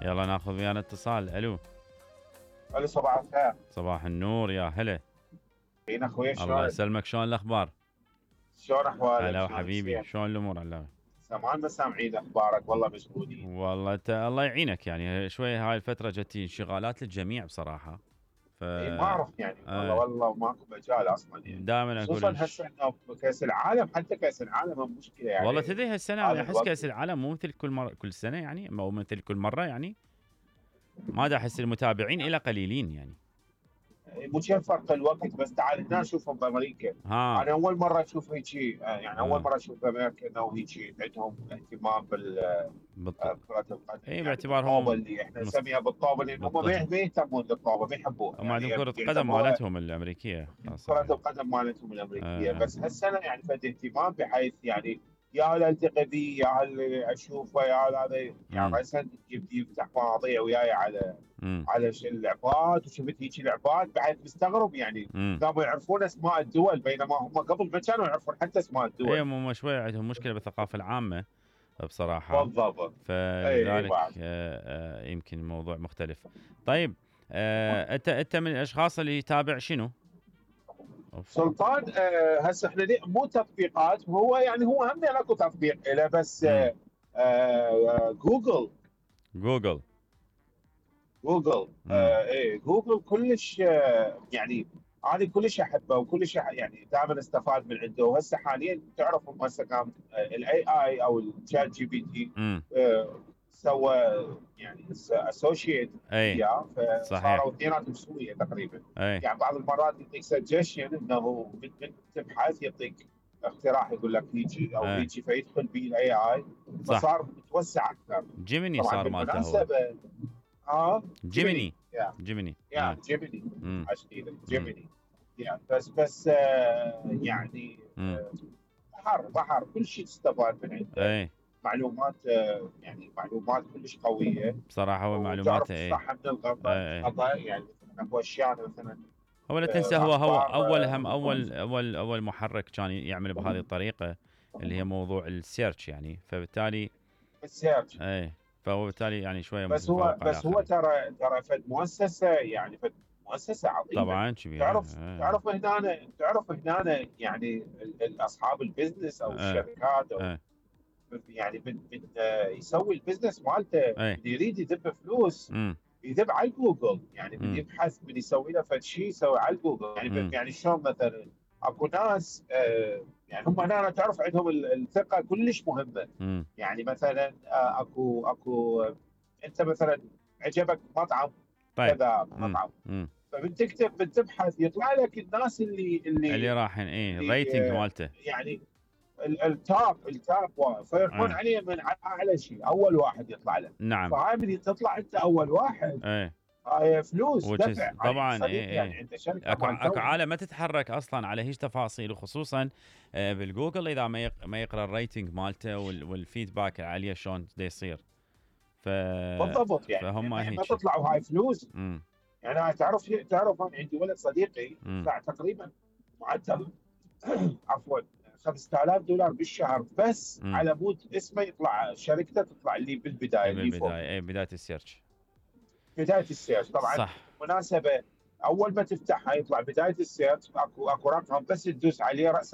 يلا ناخذ ويانا اتصال. الو صباح الخير. صباح النور يا هلا. فين اخوي الله شلونك؟ يسلمك، شلون الاخبار؟ شلون احوالك؟ هلا وحبيبي، شلون الامور علاوي؟ سمان ما سامعين اخبارك والله مشغولين. والله انت الله يعينك، يعني شويه هاي الفتره جتي انشغالات للجميع بصراحه. ما اعرف يعني والله ماكو مجال اصلا يعني. دائما اقول خصوصا هسه انه كاس العالم، حتى كاس العالم هم مشكله يعني. والله تدري هالسنه انا احس كاس العالم مو مثل كل مره، كل سنه يعني، او مثل كل مره يعني. ما دا احس المتابعين الى قليلين يعني. مو فرق الوقت، بس تعال هنا شوفهم بامريكا. انا اول مره اشوف هيك يعني اول مره اشوف بامريكا انه هيك عندهم اهتمام كرة القدم. اي يعني باعتبارهم اللي احنا نسميها بالطوبه، لان هم ما يهتمون بالطوبه، ما يحبوها. هم عندهم كرة القدم مالتهم الامريكيه، كرة القدم مالتهم الامريكيه. بس هالسنه يعني فد اهتمام، بحيث يعني يا التقي به، يا اشوفه، يا هذا يعني هسه يفتح مواضيع وياي على اللعبات، وشفت هيك لعبات بعد مستغرب يعني. قاموا يعرفون اسماء الدول، بينما هم قبل ما كانوا يعرفون حتى اسماء الدول. اي هم شوي عندهم مشكله بالثقافه العامه بصراحه. بالضبط. فلذلك يمكن الموضوع مختلف. طيب انت من الاشخاص اللي يتابع شنو؟ سلطان هسه احنا مو تطبيقات، هو يعني هو هم اكو تطبيق له، بس جوجل ايه جوجل كلش يعني انا كلش احبه وكلش يعني دائما استفاد من عنده. وهسه حاليا تعرف هسه كان الاي اي او الشات جي بي تي سوى يعني اسوشيت وياه، فصاروا اثنيناتهم سويه تقريبا. يعني بعض المرات يعطيك سجشن انه من تبحث يعطيك اقتراح، يقول لك هيجي او هيجي، فيدخل به الاي اي، فصار متوسع اكثر. جيميني صار مالته هو جيميني جيميني يعني. بس يعني بحر كل شيء تستفاد من عنده. معلومات يعني معلومات كلش قويه بصراحه. هو معلوماته صح من الغلط يعني اكو اشياء مثلا. هو لا تنسى هو اول محرك كان يعمل بهذه الطريقه، اللي هي موضوع السيرش يعني. فبالتالي السيرش فهو بالتالي يعني شويه بس هو ترى فد مؤسسه، يعني فد مؤسسه عظيمه طبعا كبيره. تعرف هنا يعني اصحاب البزنس او الشركات او يعني يسوي البزنس مالته، يريد يدب فلوس يدب على جوجل. يعني بدي يبحث، بدي يسوي له فد شيء يسوي على جوجل. يعني شلون مثلا اكو ناس يعني هم هنا تعرف عندهم الثقه كلش مهمه. يعني مثلا اكو انت مثلا عجبك مطعم كذا مطعم، فبتكتب بتبحث يطلع لك الناس اللي راحين الريتنج مالته، يعني التاب فيروحون عليه من اعلى شيء، اول واحد يطلع له. نعم. فهاي من تطلع انت اول واحد هاي فلوس دفع طبعا. يعني انت شركه اكو عالم ما تتحرك اصلا على هيج تفاصيل، وخصوصا بالجوجل اذا ما يقرا الريتنج مالته والفيدباك عليه شلون دا يصير. بالضبط. يعني فهم ما تطلعوا هاي فلوس. يعني انا تعرف انا عندي ولد صديقي يدفع تقريبا معدل عفوا $5000 بالشهر بس على مود اسمه يطلع شركته تطلع لي بالبدايه. بدايه السيرش. طبعا صح. بالمناسبه اول ما تفتحها يطلع بدايه السيرش اكو رقم، بس تدوس عليه راسا